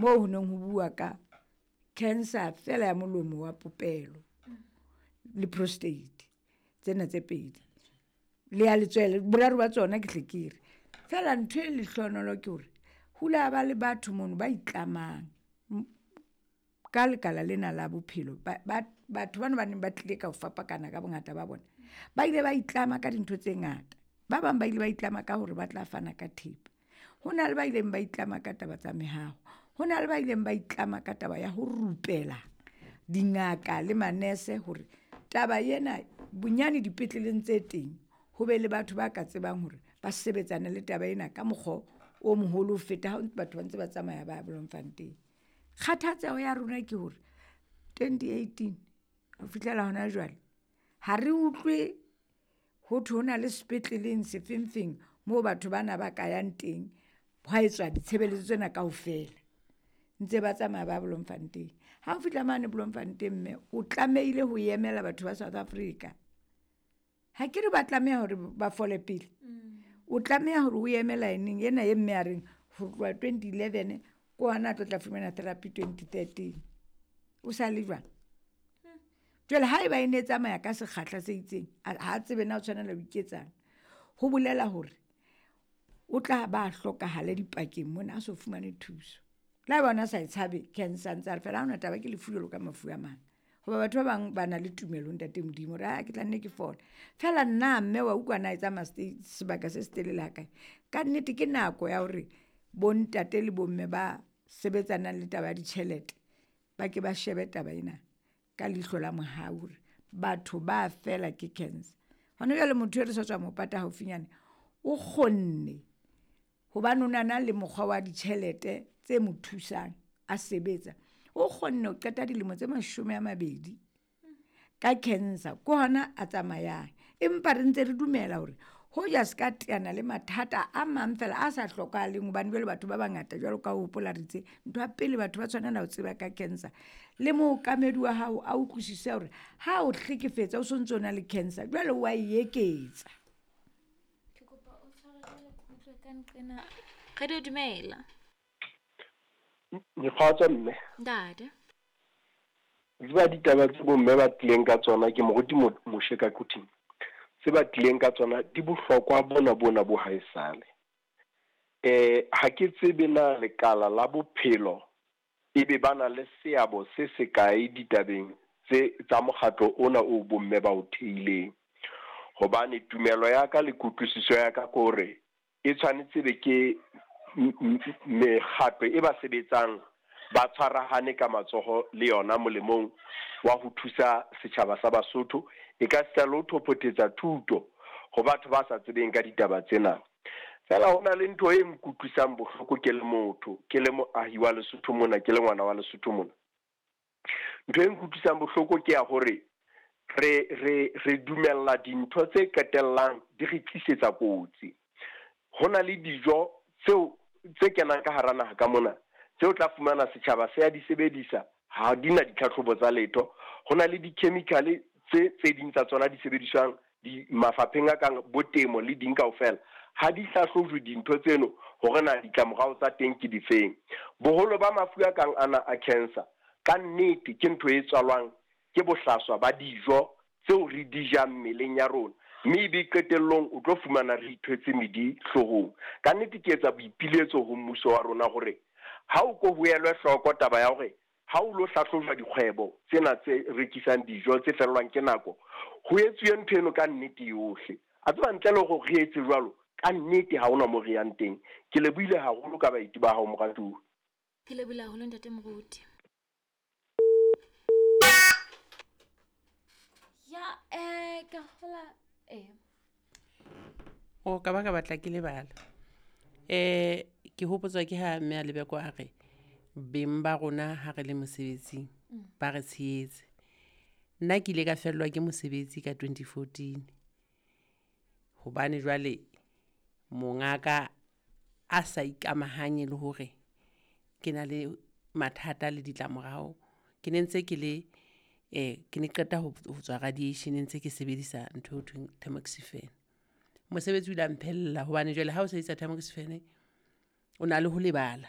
Moo ho neng ho bua ka cancer fela ya molomo wa popelo le prostate, tsena tse pedi le ya letswele, boraro ba tsona ke hle ke re. Fela ntho e lehlonolo ke hore ho la ba le batho mono ba itlamang ka lekala lena la bophelo. Batho bana ba neng ba tlile ka ho fapakana ka bongata ba bona, ba ile ba itlama ka dintho tse ngata. Ba bang ba ile ba itlama ka hore ba tla fana ka thepa. Ho na le ba ileng ba itlama ka taba tsa mehaho. Ho na le ba ileng ba itlama ka taba ya ho rupela dingaka le manese hore taba ena bonyane dipetleleng tse teng ho be le batho ba ka tsebang hore ba sebetsane le taba ena ka mokgwa o moholo ho feta ha batho ba ntse ba tsamaya ba ya Bloemfontein. Kgathatseho ya rona ke hore 2018 ho fihlela hona jwale ha re utlwe ho thwe ho na le sepetleleng sefengfeng moo batho bana ba ka yang teng hwa etswa ditshebeletso tsena kaofela. Ntse ba tsamaya ba Bloemfontein. Ha o fihla mane Bloemfontein mme o tlamehile ho emela batho ba South Africa. Ha ke re ba tlameha hore ba fole pele. O tlameha hore o eme line-eng ena e mme a reng ho tloha 2011 ko hona a tlo tla fumana therapy 2013. O sa le jwang? Jwale haeba e ne e tsamaya ka sekgahla se itseng, ha a tsebe na o tshwanela ho iketsang. Ho bolela hore o tla ba hlokahale dipakeng mona a so fumane thuso. Le haeba ona a sa e tshabe cancer, ntse a re fela ha hona taba ke lefu jwalo ka mafu a mang. Hoba batho ba bang ba na le tumelo ho ntate Modimo hore ke tla nne ke fole. Feela nna mme wa utlwa na e tsamaya sebaka se setelele hakae. Ka nnete ke nako ya hore bontate le bomme ba sebetsanang le taba ya ditjhelete ba ke ba shebe taba ena ka leihlo la mohau hore batho ba fela ke cancer. Hona jwale motho e re sa tswa mo pata haufinyane o kgonne hobane o na na le mokgwa wa ditjhelete tse mo thusang a sebetsa. O kgonne ho qeta dilemo tse 20 ka cancer, ke hona a tsamayang. Empa re ntse re dumela hore hoja se ka teana le mathata a mang fela a sa hlokahaleng, hobane jwale batho ba bangata jwalo ka ho hopola re itse ntho ya pele batho ba tshwanela ho tseba ka cancer. Le mookamedi wa hao a utlwisise hore ha o hlekefetsa o sontso o na le cancer, jwale wa e eketsa. Ke kopa o tshwarele ke utlwe ka nqena. Radio dumela. Mekgotso mme. Ntate. Tseba ditaba tse bomme ba tlileng ka tsona ke moruti Moshe ka Quthing. Tse ba tlileng ka tsona di bohlokwa bona bona bo haesale. Ha ke tsebe na lekala la bophelo ebe ba na le seabo se sekae ditabeng tse tsa mokgatlo ona o bomme ba o theileng. Hobane tumelo ya ka le kutlwisiso ya ka ke hore e tshwanetse be ke mekgatlo e ba sebetsang ba tshwarahane ka matsoho le yona molemong wa ho thusa setjhaba sa Basotho. E ka sita le ho thopothetsa thuto ho batho ba sa tsebeng ka ditaba tsena. Fela ho na le ntho e nkutlwisang bohloko ke le motho, ke le moahi wa Lesotho mona, ke le ngwana wa Lesotho mona. Ntho e nkutlwisang bohloko ke ya hore re dumella dintho tse qetellang di re tlisetsa kotsi. Ho na le dijo tseo tse kenang ka hara naha ka mona, tseo tla fumana setjhaba se a di sebedisa, ha di na ditlhatlhobo tsa letho. Ho na le di-chemical tse ding tsa tsona di sebediswang di mafapheng a kang bo temo le ding kaofela. Ha di hlahlojwe dintho tseno hore na ditlamorao tsa teng ke difeng. Boholo ba mafu a kang ana a cancer ka nnete ke ntho e tswalwang ke bohlaswa ba dijo tseo re di jang mmeleng ya rona, mme ebe qetellong o tlo fumana re ithwetse medi hloohong. Ka nnete ke etsa boipiletso ho mmuso wa rona hore ha o ko ho elwe hloko taba ya hore ha o lo hlahlojwa dikgwebo tsena tse rekisang dijo tse fellwang ke nako, ho etsuwe ntho eno ka nnete yohle. A tseba ntle le hore re etse jwalo, ka nnete ha hona mo re yang teng. Ke lebohile haholo ka baeti ba hao moratuwa. Ke lebohile haholo ntate Moruti. Ya, ka hola, O ka ba ka batla ke lebala. Ke hopotswa ke ha mme a Lebeko a re beng ba rona ha re le mosebetsing ba re tshehetse. Nna ke ile ka fellwa ke mosebetsi ka 2014. Hobane jwale mongaka a sa ikamahanye le hore ke na le mathata le ditlamorao. Ke ne ntse ke le ke ne qeta ho tswa radiation ntse ke sebedisa ntho eo thweng tamoxifen. Mosebetsi o ile a mphella hobane jwale ha o sebedisa tamoxifen o na le ho lebala.